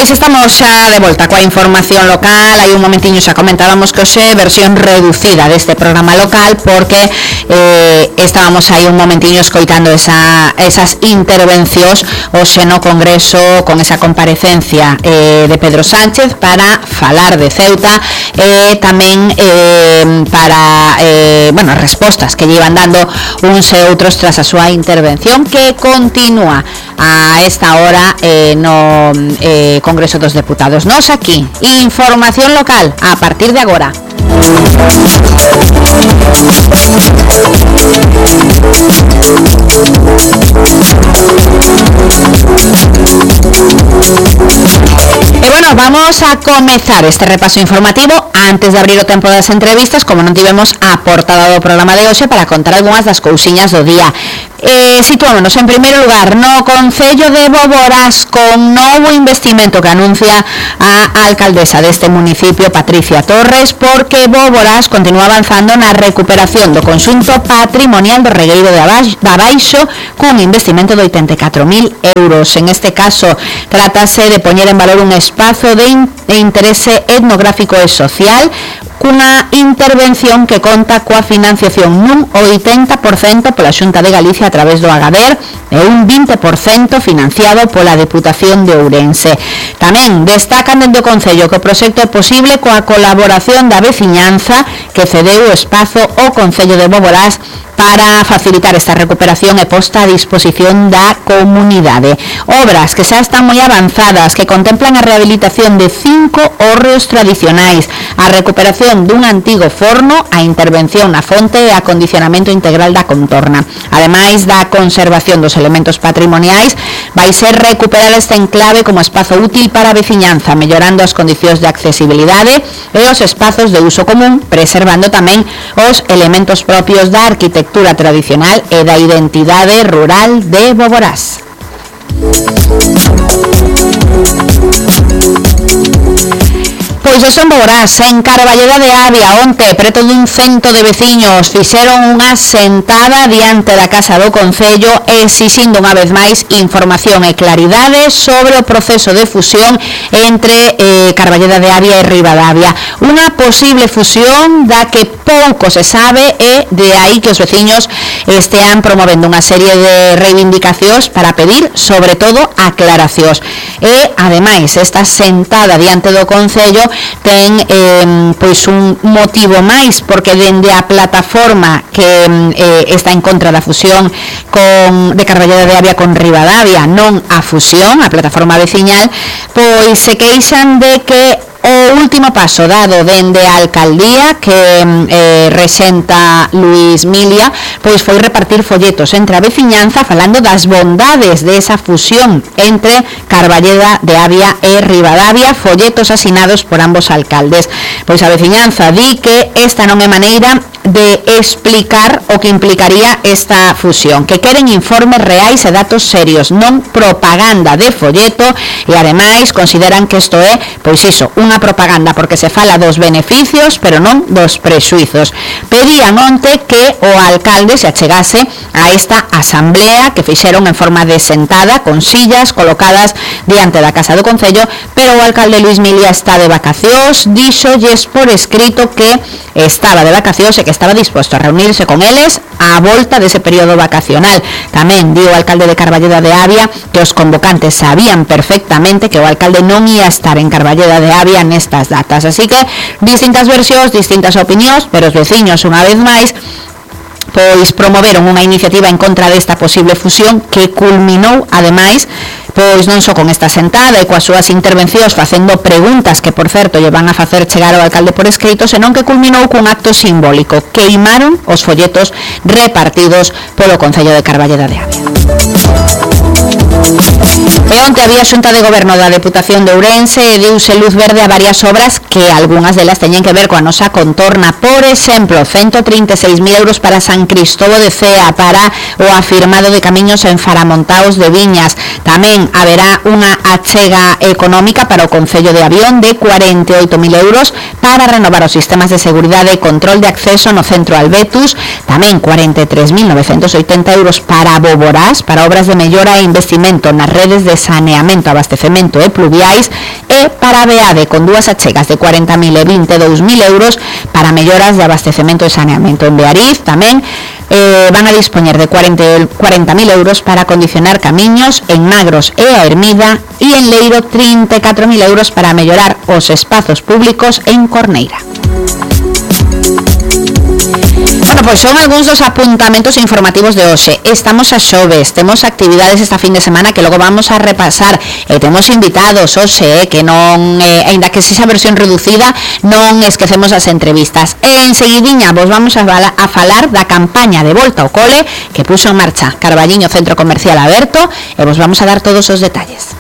Pois estamos xa de volta coa información local. Hai un momentiño xa comentábamos que hoxe versión reducida deste programa local porque estábamos aí un momentiño escoitando esas intervencións hoxe no Congreso con esa comparecencia de Pedro Sánchez para falar de Ceuta e tamén para respostas que lle iban dando uns e outros tras a súa intervención que continúa a esta hora no Congreso dos Deputados. Nos aquí, información local a partir de agora. E bueno, vamos a comezar este repaso informativo antes de abrir o tempo das entrevistas, como non tivemos a portada do programa de hoxe para contar algunhas das cousiñas do día. Situámonos en primeiro lugar no Concello de Boborás con novo investimento que anuncia a alcaldesa deste municipio, Patricia Torres, porque Boborás continúa avanzando na recuperación do conxunto patrimonial do regueiro de Abaixo cun investimento de 84.000 euros. En este caso, trátase de poñer en valor un espazo de interese etnográfico e social cunha intervención que conta coa financiación nun 80% pola Xunta de Galicia a través do Agader e un 20% financiado pola Deputación de Ourense. Tamén destacan dende o Concello que o proxecto é posible coa colaboración da veciñanza que cedeu o espazo ao Concello de Boborás para facilitar esta recuperación e posta a disposición da comunidade. Obras que xa están moi avanzadas, que contemplan a rehabilitación de 5 hórreos tradicionais, a recuperación dun antigo forno, a intervención na fonte e acondicionamento integral da contorna. Ademais da conservación dos elementos patrimoniais, vai ser recuperar este enclave como espazo útil para a veciñanza, mellorando as condicións de accesibilidade e os espazos de uso común, preservando tamén os elementos propios da arquitectura tradicional e da identidade rural de Boborás. Pois eso en Boborás, en Carballeda de Avia, onte, preto dun cento de veciños, fixeron unha sentada diante da Casa do Concello exixindo unha vez máis información e claridade sobre o proceso de fusión entre Carballeda de Avia e Ribadavia. Unha posible fusión da que pouco se sabe e de aí que os veciños estean promovendo unha serie de reivindicacións para pedir, sobre todo, aclaracións. E, ademais, esta sentada diante do Concello ten pois un motivo máis, porque dende a plataforma que está en contra da fusión de Carballeda de Avia con Ribadavia, non a fusión, a plataforma veciñal, pois se queixan de que o último paso dado dende a alcaldía que rexenta Luis Milia, pois foi repartir folletos entre a veciñanza falando das bondades desa fusión entre Carballeda de Avia e Ribadavia, folletos asinados por ambos alcaldes. Pois a veciñanza di que esta non é maneira de explicar o que implicaría esta fusión, que queren informes reais e datos serios, non propaganda de folleto, e ademais consideran que isto é, pois iso, unha propaganda porque se fala dos beneficios, pero non dos prexuizos. Pedían onte que o alcalde se achegase a esta asamblea que fixeron en forma de sentada, con sillas colocadas diante da Casa do Concello, pero o alcalde Luis Milia está de vacacións, díxolles por escrito que estaba de vacacións e que estaba disposto a reunirse con eles á volta dese período vacacional. Tamén dio o alcalde de Carballeda de Avia que os convocantes sabían perfectamente que o alcalde non ia estar en Carballeda de Avia nestas datas. Así que distintas versións, distintas opinións, pero os veciños unha vez máis pois promoveron unha iniciativa en contra desta posible fusión que culminou, ademais, pois non só con esta sentada e coas súas intervencións facendo preguntas que, por certo, lle van a facer chegar ao alcalde por escrito, senón que culminou cun acto simbólico. Queimaron os folletos repartidos polo Concello de Carballeda de Avia. E onte había Xunta de Goberno da Deputación de Ourense e deuse luz verde a varias obras que algunhas delas teñen que ver coa nosa contorna. Por exemplo, 136.000 euros para San Cristobo de Cea, para o afirmado de camiños en Faramontaos de Viñas. Tamén haberá unha achega económica para o Concello de Avión de 48.000 euros para renovar os sistemas de seguridade e control de acceso no centro Albetus, tamén 43.980 euros para Boborás, para obras de mellora e investimento nas redes de saneamento, abastecemento e pluviais, e para Beade con dúas achegas de 40.000 e 22.000 euros para melloras de abastecemento e saneamento. En Beariz tamén van a dispoñer de 40.000 euros para acondicionar camiños en Magros e a Ermida, e en Leiro 34.000 euros para mellorar os espazos públicos en Corneira. Bueno, pois son algúns dos apuntamentos informativos de hoxe. Estamos a xoves, temos actividades esta fin de semana que logo vamos a repasar, e temos invitados hoxe, que non, aínda que sexa versión reducida, non esquecemos as entrevistas. E enseguidiña vos vamos a falar da campaña de volta ao cole que puxo en marcha Carballiño Centro Comercial Aberto, e vos vamos a dar todos os detalles.